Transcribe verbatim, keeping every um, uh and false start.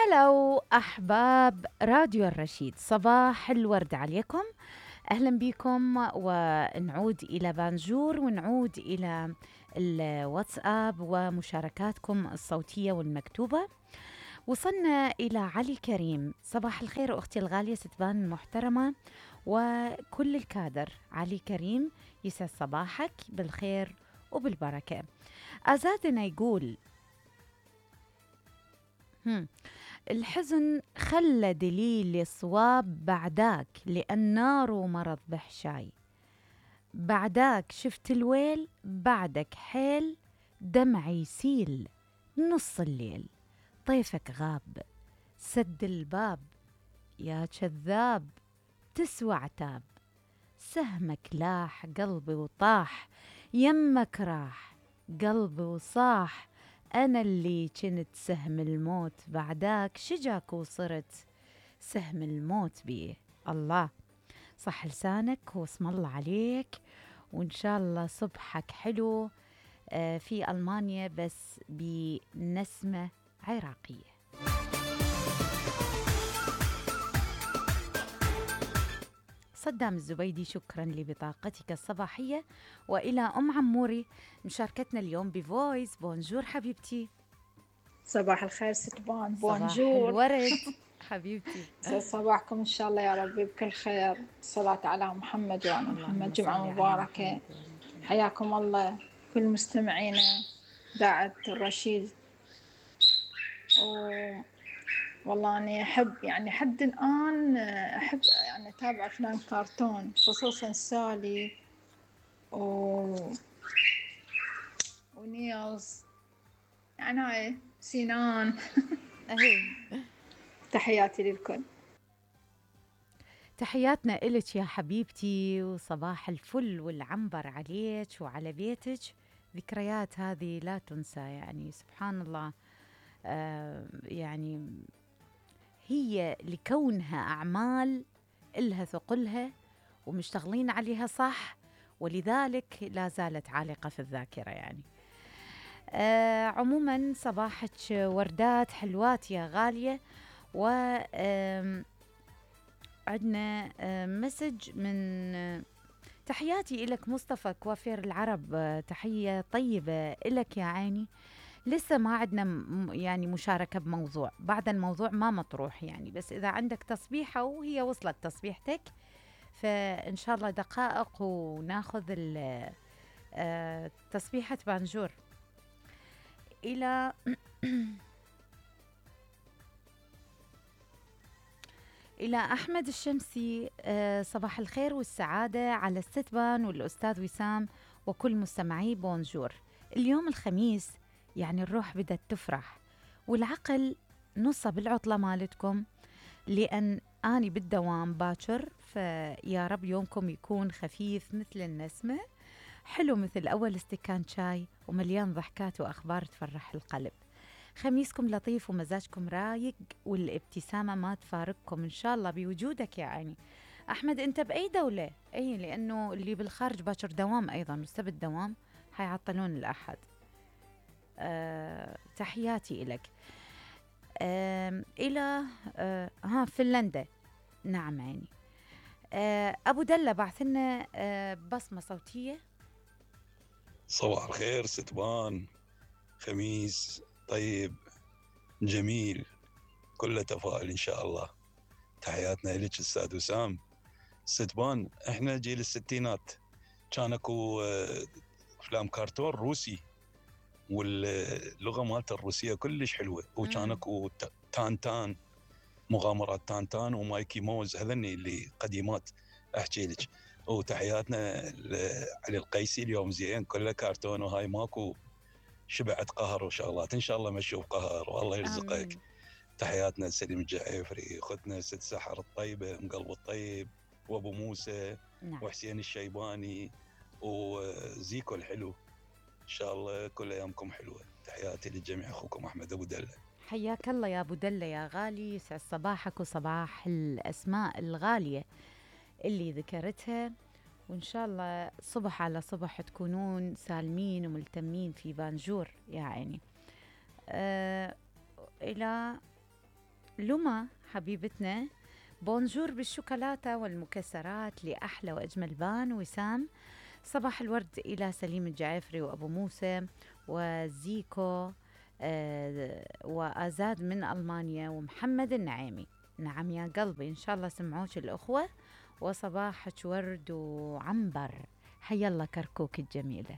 هلو أحباب راديو الرشيد، صباح الورد عليكم. أهلا بكم ونعود إلى بانجور ونعود إلى الواتساب ومشاركاتكم الصوتية والمكتوبة. وصلنا إلى علي كريم. صباح الخير أختي الغالية ستبان المحترمة وكل الكادر. علي كريم يسعد صباحك بالخير وبالبركة. أزادنا يقول هم. الحزن خلى دليل الصواب بعداك، لأن ناره مرض بحشاي. بعداك شفت الويل، بعدك حيل دمعي يسيل نص الليل. طيفك غاب سد الباب يا كذاب، تسوى عتاب. سهمك لاح قلبي وطاح، يمك راح قلبي وصاح. أنا اللي كنت سهم الموت، بعداك شجاك وصرت سهم الموت بيه. الله صح لسانك واسم الله عليك، وإن شاء الله صبحك حلو آه في ألمانيا بس بنسمة عراقية. صدام الزبيدي، شكرا لبطاقتك الصباحية. وإلى أم عموري مشاركتنا اليوم بفويس. بونجور حبيبتي. صباح الخير ستبان. بونجور. صباح الورد حبيبتي. صباحكم إن شاء الله يا ربي بكل خير. الصلاة على محمد وعلى محمد. جمعة مباركة. حياكم الله كل مستمعينا إذاعة الرشيد. و... والله أنا أحب يعني حد الآن أحب يعني أتابع أفلام كرتون، خصوصا سالي و... ونيلز، يعني هاي سينان. تحياتي للكل. تحياتنا إلك يا حبيبتي، وصباح الفل والعنبر عليك وعلى بيتك. ذكريات هذه لا تنسى، يعني سبحان الله. آه يعني هي لكونها أعمال إلها ثقلها ومشتغلين عليها صح، ولذلك لا زالت عالقة في الذاكرة يعني. آه عموما صباحك وردات حلوات يا غالية. و عندنا مسج من تحياتي إلك مصطفى كوافير العرب. تحية طيبة إلك يا عيني. لسه ما عندنا يعني مشاركة بموضوع، بعد الموضوع ما مطروح يعني، بس إذا عندك تصبيحة وهي وصلت تصبيحتك فإن شاء الله دقائق وناخذ تصبيحة بانجور. إلى إلى أحمد الشمسي. صباح الخير والسعادة على الستبان والأستاذ وسام وكل مستمعي بونجور. اليوم الخميس يعني الروح بدأت تفرح والعقل نصب العطلة مالتكم، لأن أني بالدوام باكر، فيا رب يومكم يكون خفيف مثل النسمة، حلو مثل أول استكان شاي، ومليان ضحكات وأخبار تفرح القلب. خميسكم لطيف ومزاجكم رايق والابتسامة ما تفارقكم إن شاء الله بوجودك يا عيني. أحمد أنت بأي دولة؟ أي لأنه اللي بالخارج باكر دوام أيضا، والسبت دوام، حيعطلون الأحد. أه تحياتي إلك. أه إلى أه ها فنلندا. نعم عيني. أه أبو دلة بعثلنا أه بصمة صوتية. صباح الخير ستبان، خميس طيب جميل كله تفاؤل إن شاء الله. تحياتنا لك أستاذ وسام. ستبان إحنا جيل الستينات، كان اكو أفلام كرتون روسي واللغة مالت الروسية كلش حلوة، وكان اكو تان تان، مغامرات تان تان ومايكي موز، هذني اللي قديمات أحكي لك. وتحياتنا علي القيسي، اليوم زين كله كرتون وهاي ماكو شبعت قهر وشغلات، إن شاء الله ما نشوف قهر والله يرزقك. آمين. تحياتنا لسليم الجعيفري، أختنا ست سحر الطيبة أم قلب الطيب، وأبو موسى. نعم. وحسين الشيباني وزيكو الحلو. إن شاء الله كل أيامكم حلوة. تحياتي للجميع، أخوكم أحمد أبو دلة. حياك الله يا أبو دلة يا غالي، يسعد صباحك وصباح الأسماء الغالية اللي ذكرتها، وإن شاء الله صبح على صبح تكونون سالمين وملتمين في بانجور يا عيني. أه إلى لما حبيبتنا بونجور بالشوكولاتة والمكسرات لأحلى وأجمل بان. وسام صباح الورد إلى سليم الجعفري وأبو موسى وزيكو آه وآزاد من ألمانيا ومحمد النعيمي. نعم يا قلبي، إن شاء الله سمعوش الأخوة. وصباحك ورد وعنبر. حيا الله كركوك الجميلة.